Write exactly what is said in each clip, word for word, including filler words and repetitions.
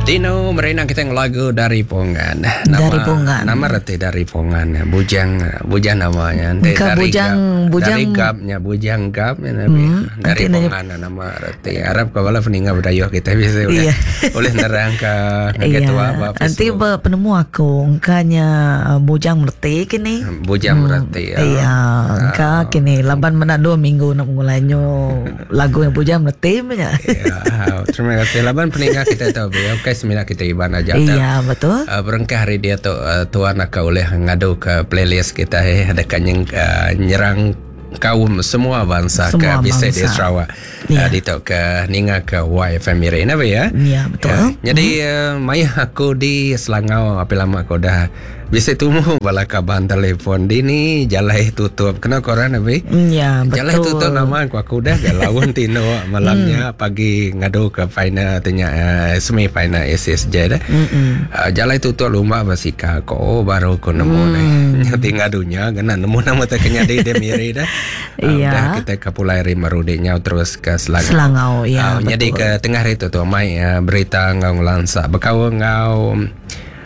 Dino merina kita lagu dari Pongan. Nama, Dari Pongan. Nama reti dari Pongan. Bujang, bujang namanya. Nanti Engka dari bujang- gap, bujang- dari gapnya bujang gap ya, Nabi. Hmm, Dari nanti nanya- Pongan nama reti. Arab ke bala peninga berdayuh kita bisa boleh Iya. boleh nerang ke Iya. ketua apa Nanti Facebook. penemu aku engkanya uh, bujang merti kini. Bujang berarti ya. Iya, engka kini laban mena dua minggu nak mengulanyo lagu yang bujang merti punya. Ya, terima kasih. Laban peninga kita tahu ya. Okey, semina kita iban aja. Iya, betul. Uh, berengkah hari dia tu uh, tuan akan oleh ngadu ke playlist kita eh ada kan yang uh, nyerang kaum semua bangsa Semua ke bisa di bangsa. Sarawak. Ya. Uh, di tu ke ninga ke Y F M Miri napa ya? Ya, betul. Ya. Jadi uh, maya aku di Selangau apa lama aku dah bisa temu bala kaban telefon di ni jalai tutup. Kena koran abi? Ya, betul. Jalai tutup nama aku aku dah gak lawan tino malamnya pagi ngadu ke final tanya uh, semi final S S J dah. Uh, jalai tutup lumba basika ko oh, baru ku nemu mm. nih. Nyati ngadunya kena nemu nama tak kena di Miri dah. Uh, Iya. Dah kita ke Pulai Rimarude nyau terus ke Selangau. Selangau, ya, Uh, jadi betul. ke tengah hari tu tu mai uh, berita ngau ngelansa bekau ngau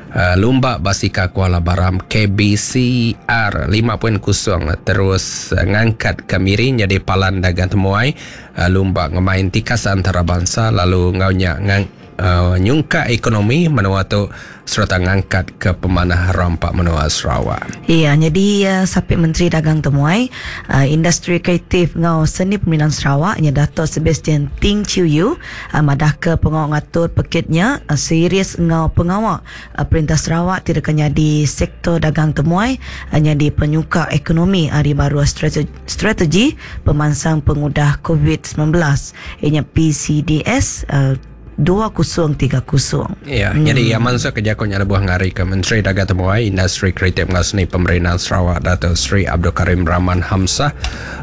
Uh, Lumba Basika Kuala Baram K B C R lima titik kosong terus uh, ngangkat ke Miri jadi palan dagang temuai uh, lumba ngemain tikas antarabangsa lalu ngaunya ngang uh, nyungka ekonomi menua tu serta ngangkat ke pemanah rampak menua Sarawak. Iya, jadi uh, Sapit Menteri Dagang Temuai, uh, Industri Kreatif ngau Seni Pemerintahan Sarawak nya Dato' Sebastian Ting Chiu Yu uh, madah ke pengawal ngatur pekitnya uh, serius ngau pengawal uh, Perintah Sarawak tidak jadi sektor dagang temuai uh, jadi penyuka ekonomi hari baru strategi, strategi pemansang pengudah COVID sembilan belas ianya P C D S uh, dua kosong tiga kosong. Ya, hmm. Jadi yang masuk kerja kau nyala buah ngari ke Menteri Dagang Temuai Industri Kreatif Ngasni Pemerintahan Sarawak Dato' Sri Abdul Karim Rahman Hamzah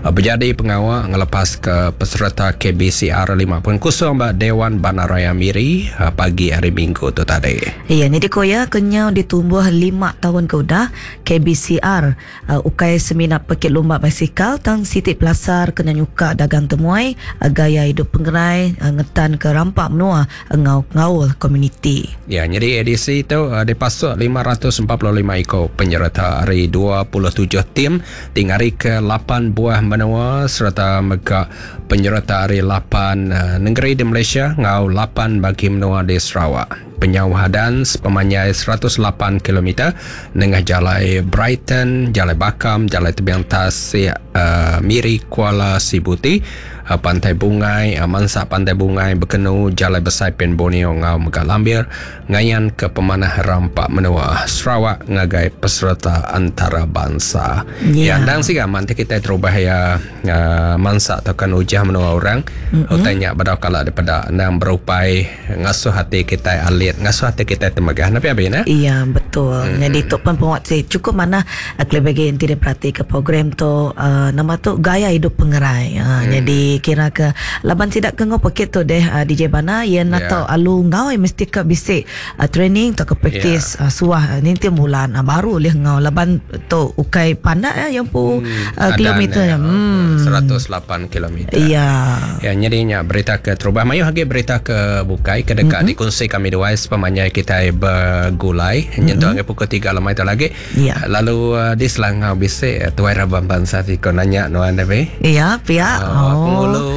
berjadi pengawal ngelepas ke peserta K B C R lima titik kosong ba Dewan Bandaraya Miri pagi hari Minggu tu tadi. Ya, jadi koya kenyau ditumbuh lima tahun ke udah K B C R uh, ukai seminat pekit lumba basikal tang Siti Pelasar kena nyuka dagang temuai uh, gaya hidup pengerai uh, ngetan ke rampak menua ngau ngaul komuniti. Ya, jadi edisi itu uh, dipasuk lima ratus empat puluh lima ekor penyerta hari dua puluh tujuh tim tinggal ke lapan buah menua serta mega penyerta hari lapan uh, negeri di Malaysia ngau lapan bagi menua di Sarawak. Penyauhadan sepemanjai seratus lapan kilometer nengah Jalai Brighton, Jalai Bakam, Jalai Tebiang Tasik, uh, Miri, Kuala Sibuti, uh, Pantai Bungai, uh, Mansak Pantai Bungai, Bekenu, Jalai Besai Pen Borneo ngau Mega Lambir, ngayan ke pemanah rampak menua Sarawak ngagai peserta antarabangsa. Ya. Ya, ndang sih nanti kita terubah ya uh, mansak atau kan ujah menua orang. Mm-hmm. Utanya badau kala daripada ndang berupai ngasuh hati kita alit ngasuh hati kita temegah. Napi abi na? Iya, betul. Hmm. Jadi tu pun penguat sih cukup mana kelebih yang tidak perhati ke program tu uh, nama tu gaya hidup pengerai. Uh, hmm. Jadi kira ke laban tidak ke ngopekit tu deh uh, D J Bana ia nak Yeah. tahu alu ngau mesti ke bisik uh, training atau ke praktis yeah. uh, suah uh, ninti bulan uh, baru leh ngau laban tu ukai pandak ya yang pu hmm. uh, kilometer. Ya, Hmm. seratus lapan kilometer. Iya. Ya, jadinya berita ke terubah mayu lagi berita ke bukai ke dekat mm-hmm. dikongsi kami dua sepemanjai kita bergulai mm-hmm. nyentuh ke pukul tiga lemai tu lagi. Ya. Lalu uh, di Selangau bisik tuai rabang bangsa tiko nanya nuan tapi. Iya, pihak. Uh, Oh. Pengulu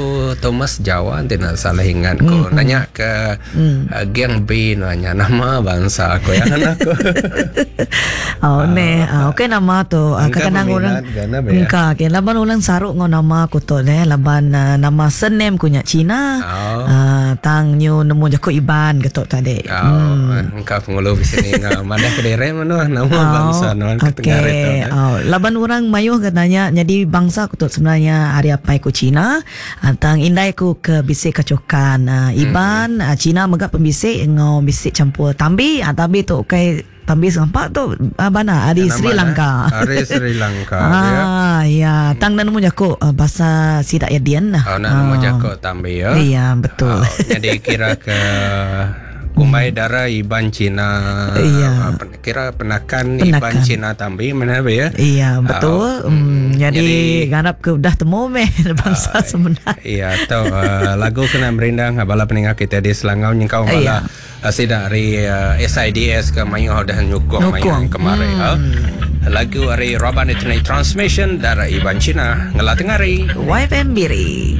Thomas Jawa nanti nak salah ingat ko mm-hmm. nanya ke mm. uh, geng B nanya nama bangsa aku yang aku. Oh, ne. Uh, okey nama tu. Uh, Engkau kadang-kadang orang peminat gana, ya? engkau okay. Laban orang saruk ngau nama aku tu ne, laban uh, nama surname ku nya Cina. Oh. Uh, tang nyu nemu jaku Iban ke tu tadi. Oh, hmm. Engkau pengulu di sini ngau mana ke dere mana nama Oh, bangsa nuan ke tengah okey. itu. Ne? Oh, laban orang mayuh katanya jadi bangsa aku tu sebenarnya hari apa ku Cina, uh, tang indai ku ke bisik kacokan uh, Iban, hmm. uh, Cina megak pembisik ngau bisik campur tambi, uh, tambi tu okey tambi serempak tu uh, bana di Nama Sri Lanka. Hari Sri Lanka ya. Ah, ya, tang dan nemu jaku uh, bahasa sidak ya dian lah. Oh, nak nemu jaku tambi ya. Iya, betul. Oh, jadi kira ke Kumbai dara Iban Cina. Iya. Kira penakan, Penakan. Iban Cina Tambi mana ya? Iya, betul. Uh, Hmm, jadi, jadi ngarap ke udah temu meh bangsa uh, sebenar. Iya, atau uh, lagu kena merindang bala peninggal kita di Selangau nyengkau bala Iya. uh, sida dari uh, S I D S ke mayuh dah nyukong Nyukong. mayuh kemarin. Hmm. Uh, lagu dari Raban Eternal Transmission dari Iban Cina ngelah tengari. Y F M Miri.